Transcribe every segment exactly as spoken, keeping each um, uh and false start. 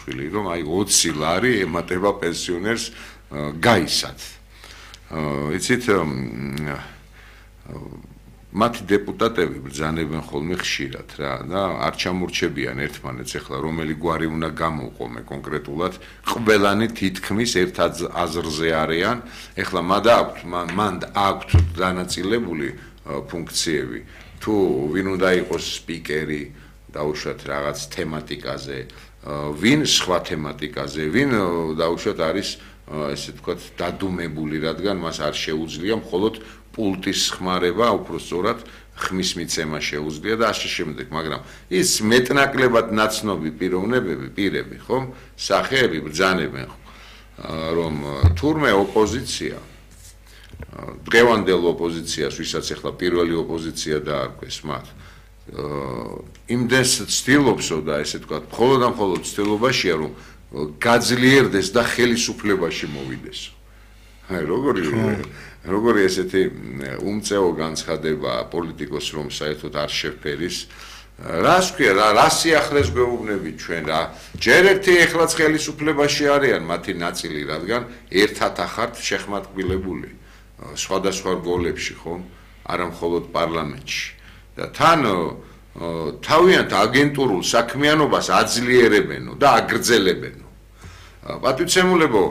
სააკაშვილი, რომ აი ოცი ლარი ემატება პენსიონერს გაისად. იცით, მათი დეპუტატები ბრძანებენ ხოლმე ხშირად რა და არ ჩამორჩებიან ერთმანეთს ახლა რომელი გვარი უნდა გამოვყო კონკრეტულად ყველანი თითქმის ერთ აზრზე არიან ახლა მანდა აქვთ მანდა აქვთ დანაწილებული ფუნქციები თუ ვინ უნდა იყოს სპიკერი დაუშვათ რაღაც თემატიკაზე ვინ სხვა თემატიკაზე ვინ დაუშვათ არის ესე ვთქვათ დადუმებული რადგან მას არ შეუძლია მხოლოდ პულტის ხმარება უფრო სწორად ხმის მიცემა შეუძლია და ასე შემდეგ მაგრამ ის მეტნაკლებად ნაცნობი პიროვნებები პირები ხომ სახეები ბრძანებენ რომ თურმე ოპოზიცია დღევანდელ ოპოზიციას ვისაც ახლა პირველი ოპოზიცია დაარქვეს მათ იმდენს ცდილობსო და ესე ვთქვათ მხოლოდ და მხოლოდ ცდილობაშია რომ გაძლიერდეს და ხელისუფლებაში მოვიდესო აი როგორი როგორი ესეთი უმწეო განცხადება პოლიტიკოს რომ საერთოდ არ შეფერის რას ქვია რა რა სიახლეს გვეუბნებით ჩვენ რა ჯერ ერთი ეხლაც ხელისუფლებაში არიან მათი ნაწილი რადგან ერთად ახართ შეხმატკბილებული სხვადასხვა რგოლებში ხომ არა მხოლოდ პარლამენტში და თან თავიანთ აგენტურულ საქმიანობას აძლიერებენო და აგრძელებენო პატივცემულებო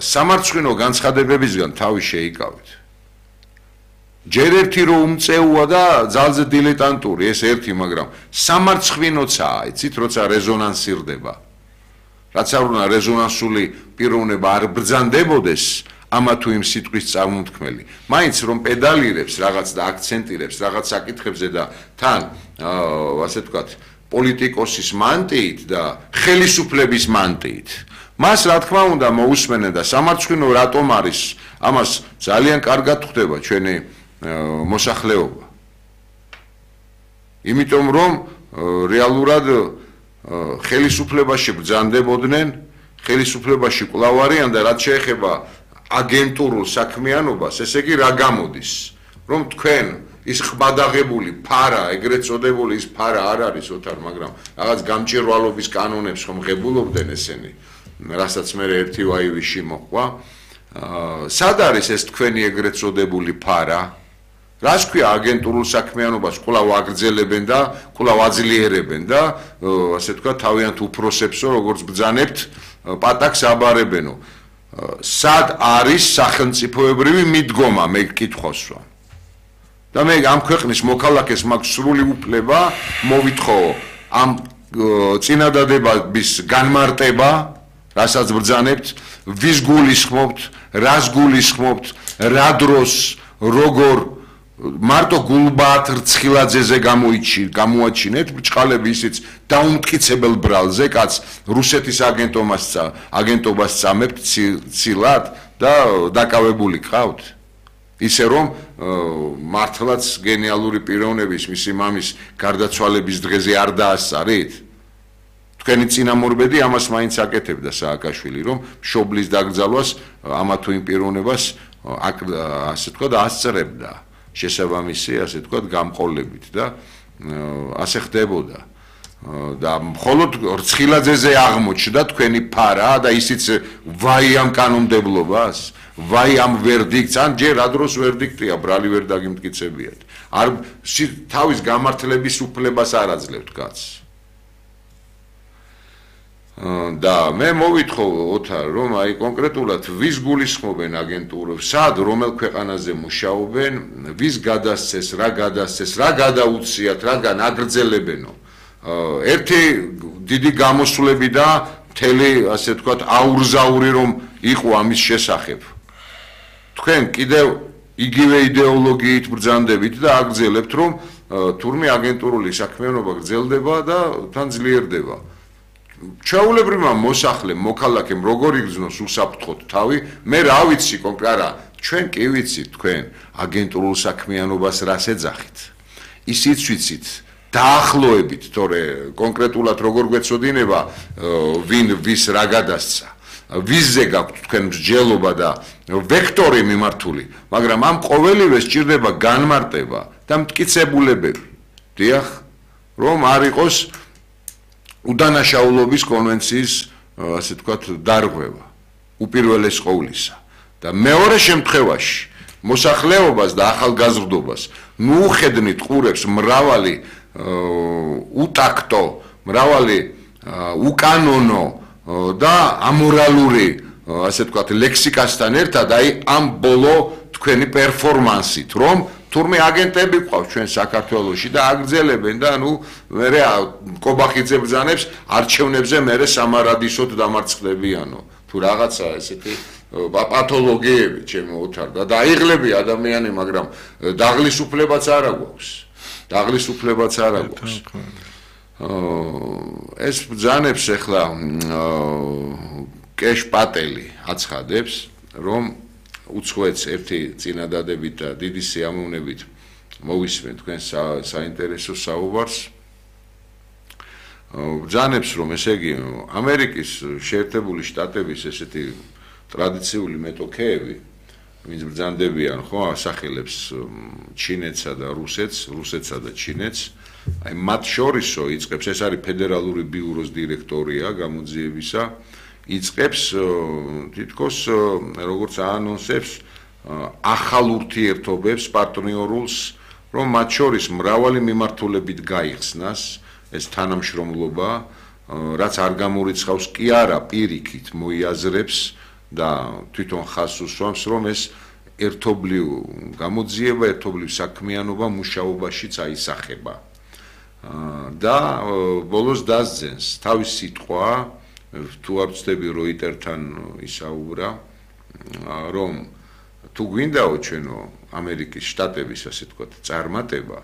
სამარცხვინო განცხადებებისგან თავი შეიკავეთ ჯერ ერთი რომ უმწეოა და ძალზე დილეტანტური ეს ერთი მაგრამ სამარცხვინოცაა იცით როცა რეზონანსირდება რაც არ უნდა რეზონანსული პიროვნება არ ბრძანდებოდეს ამა თუ იმ სიტყვის წარმოთქმელი მაინც რომ პედალირებს რაღაც და აქცენტირებს რაღაც საკითხებზე და თან ასე ვთქვათ პოლიტიკოსის მანტიით და ხელისუფლების მანტიით მას რა თქმა უნდა მოусმენენ და სამარცხვინო რატომ არის ამას ძალიან კარგად ხვდება ჩვენი მოსახლეობა იმიტომ რომ რეალურად ხელისუფლებაში ბრძანდებოდნენ ხელისუფლებაში კვლავ არიან და რაც შეეხება აგენტურულ საქმიანობას ესე იგი რა გამოდის რომ თქვენ ის ხმადაღებული ფარა ეგრეთ წოდებული ის ფარა არ არის ოთარ მაგრამ რაღაც გამჭირვალობის კანონებს ხომ ღებულობდნენ ესენი რასაც მე ერთი ვაივიში მოყვა სად არის ეს თქვენი ეგრეთ წოდებული ფარა რას ქვია აგენტურულ საქმიანობას კვლავ აგრძელებენ და კვლავ აძლიერებენ და ასე თქვა თავიანთ უფროსებსო როგორც ბრძანებთ პატაკს აბარებენო სად არის სახელმწიფოებრივი მიდგომა მე კითხვას ვამ და მე ამ ქვეყნის მოქალაქეს მაქვს სრული უფლება მოვითხოვო ამ წინადადების განმარტება რასაც ბრძანებთ ვის გულისხმობთ რას გულისხმობთ რა დროს როგორ მარტო გულბაათ რცხილაძეზე გამოიჩი გამოაჩინეთ ბრჭყალები ისიც დაუმტკიცებელ ბრალზე კაც რუსეთის აგენტობას აგენტობას წამებთ ცილად და დაკავებული ყავთ ისე რომ მართლაც გენიალური პიროვნების მისი მამის გარდაცვალების დღეზე არ დაასწარით თქვენი წინამორბედი ამას მაინც აკეთებდა სააკაშვილი რომ მშობლის დაკრძალვას ამა თუ იმ პიროვნებას ასე თქვა და ასწრებდა შესაბამისი ასე თქვა გამყოლებით და ასე ხდებოდა და მხოლოდ რცხილაძეზე აღმოჩნდა თქვენი ფარა და ისიც ვაი ამ კანონმდებლობას ვაი ამ ვერდიქტს ან ჯერ რა დროს ვერდიქტია ბრალი ვერ დაგიმტკიცებიათ არ თავის გამართლების უფლებას არ აძლევთ კაცს და მე მოვითხოვ ოთარ რომ აი კონკრეტულად ვის გულისხმობენ აგენტურებს სად რომელ ქვეყანაზე მუშაობენ ვის გადასცეს რა გადასცეს რა გადაუციათ რაგან აგრძელებენო ერთი დიდი გამოსვლები და მთელი ასე ვთქვათ აურზაური რომ იყო ამის შესახებ თქვენ კიდევ იგივე იდეოლოგიით ბრძანდებით და აგრძელებთ რომ თურმე აგენტურული საქმიანობა გრძელდება და თან ძლიერდება ჩაულებრივმა მოსახლემ მოქალაქემ როგორ იგრძნოს უსაფრთხოდ თავი მე რა ვიცი კონკრეტულად არა ჩვენ კი ვიცით თქვენ აგენტურულ საქმიანობას რას ეძახით ისიც ვიცით დაახლოებით თორე კონკრეტულად როგორ გვეცოდინება ვინ ვის რა გადასცა ვიზზე გაქვთ თქვენ მსჯელობა და ვექტორი მიმართული მაგრამ ამ ყოველივე სჭირდება განმარტება და მტკიცებულებები დიახ რომ არ იყოს უდანაშაულობის კონვენციის ასე ვთქვათ, დარღვევა უპირველეს ყოვლისა და მეორე შემთხვევაში მოსახლეობას და ახალგაზრდობას ნუ უხედნით ყურებს მრავალი უტაქტო, მრავალი უკანონო და ამორალური ასე ვთქვათ ლექსიკასთან ერთად აი ამ ბოლო თქვენი პერფორმანსით რომ თურმე აგენტები ყავს ჩვენ საქართველოში და აგრძელებენ და ნუ მერე კობახიძე ბრძანებს არჩევნებზე მერე სამარადისოდ დამარცხდებიანო თუ რაღაცა ესეთი პათოლოგიები ჩემო ოთარდა და აიღლები ადამიანი მაგრამ დაღლისუფლებაც არ აქვს დაღლისუფლებაც არ აქვს ეს ბრძანებს ახლა კეშ პატელი აცხადებს რომ უცხოეთს ერთი წინადადებით და დიდი სიამოვნებით მოვისმენ თქვენ საინტერესო საუბარს ბრძანებს რომ ესე იგი ამერიკის შეერთებული შტატების ესეთი ტრადიციული მეტოქეები ვინც ბრძანდებიან ხო ასახელებს ჩინეთსა და რუსეთს რუსეთსა და ჩინეთს აი მათ შორისო იწყებს ეს არის ფედერალური ბიუროს დირექტორია გამოძიებისა იწყებს თითქოს როგორც აანონსებს ახალ ურთიერთობებს პარტნიორულს რომ მათ შორის მრავალი მიმართულებით გაიხსნას ეს თანამშრომლობა რაც არ გამორიცხავს კი არა პირიქით მოიაზრებს და თვითონ ხაზს უსვამს რომ ეს ერთობლივ გამოძიება ერთობლივ საქმიანობა მუშაობაშიც აისახება და ბოლოს დასძენს თავის სიტყვა თუ არ ვცდები როიტერთან ისაუბრა რომ თუ გვინდაო ჩვენო ამერიკის შტატების ასე ვთქვათ წარმატება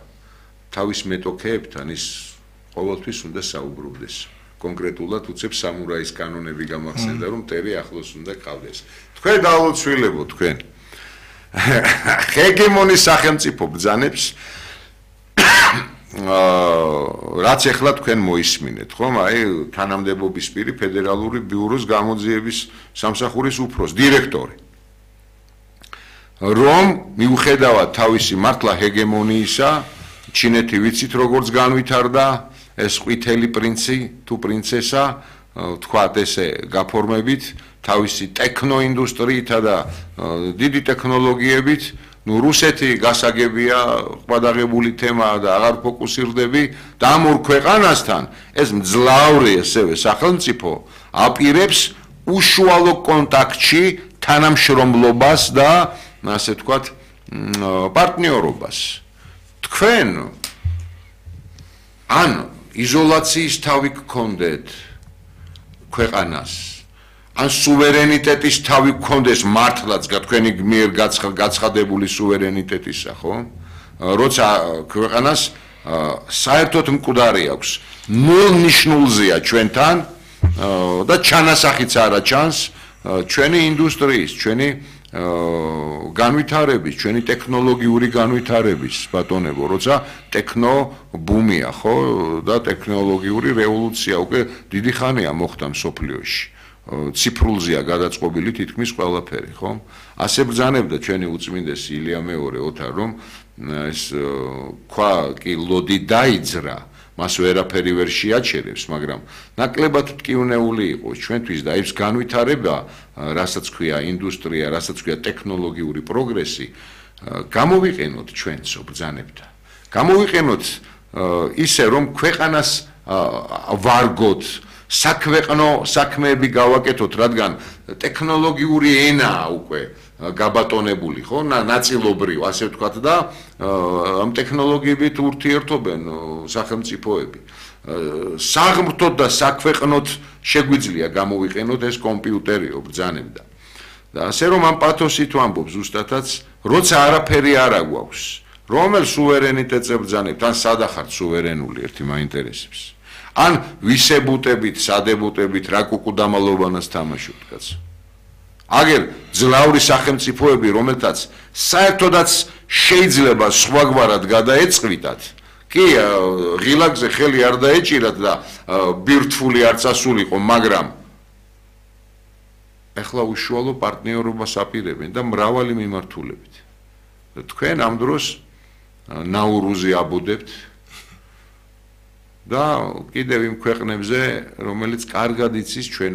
თავის მეტოქეებთან ის ყოველთვის უნდა საუბრობდეს კონკრეტულად უცებს სამურაის კანონები გამახსენდა რომ მტერი ახლოს უნდა ყავდეს თქვენ დაულოცვილებო თქვენ ჰეგემონის სახელმწიფო ბრძანებს რაც ახლა თქვენ მოისმინეთ ხომ აი თანამდებობის პირი ფედერალური ბიუროს გამოძიების სამსახურის უფროს დირექტორი რომ მიუხედავად თავისი მართლა ჰეგემონიისა ჩინეთი ვიცით როგორც განვითარდა ეს ყვითელი პრინცი თუ პრინცესა თქვათ ესე გაფორმებით თავისი ტექნოინდუსტრიითა და დიდი ტექნოლოგიებით ნუ რუსეთი გასაგებია ყბადაღებული თემაა და აღარ ფოკუსირდები და ამ ორ ქვეყანასთან ეს მძლავრი ესევე სახელმწიფო აპირებს უშუალო კონტაქტში თანამშრომლობას და ასე ვთქვათ პარტნიორობას თქვენ ან იზოლაციის თავი გქონდეთ ქვეყანას ან სუვერენიტეტის თავი გქონდეს მართლაც თქვენი მიერ გაცხადებული სუვერენიტეტისა ხო როცა ქვეყანას საერთოდ მკვდარი აქვს ნულ ნიშნულზეა ჩვენთან და ჩანასახიც არა ჩანს ჩვენი ინდუსტრიის ჩვენი განვითარების ჩვენი ტექნოლოგიური განვითარების ბატონებო როცა ტექნო ბუმია ხო და ტექნოლოგიური რევოლუცია უკვე დიდი ხანია მოხდა მსოფლიოში ციფრულზეა გადაწყობილი თითქმის ყველაფერი ხო ასე ბრძანებდა ჩვენი უწმინდესი ილია მეორე ოთარ რომ ეს ქვა კი ლოდი დაიძრა მას ვერაფერი ვერ შეაჩერებს მაგრამ ნაკლებად ტკივნეული იყო ჩვენთვის და ის განვითარება რასაც ქვია ინდუსტრია რასაც ქვია ტექნოლოგიური პროგრესი გამოვიყენოთ ჩვენცო ბრძანებთან გამოვიყენოთ ისე რომ ქვეყანას ვარგოთ საქვეყნო საქმეები გავაკეთოთ რადგან ტექნოლოგიური ენაა უკვე გაბატონებული ხო ნაწილობრივ ასე ვთქვათ და ამ ტექნოლოგიებით ურთიერთობენ სახელმწიფოები საღმრთოდ და საქვეყნოდ შეგვიძლია გამოვიყენოთ ეს კომპიუტერიო ბრძანებდა და ასე რომ ამ პათოსით ვამბობ ზუსტადაც როცა არაფერი არ აგვაქვს რომელ სუვერენიტეტზე ბრძანებთ ან სადახართ სუვერენული ერთი მაინტერესებს ან ვისებუტებით სადებუტებით რა კუკუდამალობანას თამაშობთ კაცო აგერ ძლავრი სახელმწიფოები რომელთაც საერთოდაც შეიძლება სხვაგვარად გადაეწყვიტათ კი ღილაკზე ხელი არ დაეჭირათ და ბირთვული არ წასულიყო მაგრამ ეხლა უშუალო პარტნიორობას აპირებენ და მრავალი მიმართულებით თქვენ ამ დროს ნაურუზი აბუდებთ და კიდევ იმ ქვეყნებზე, რომელიც კარგად იცის ჩვენ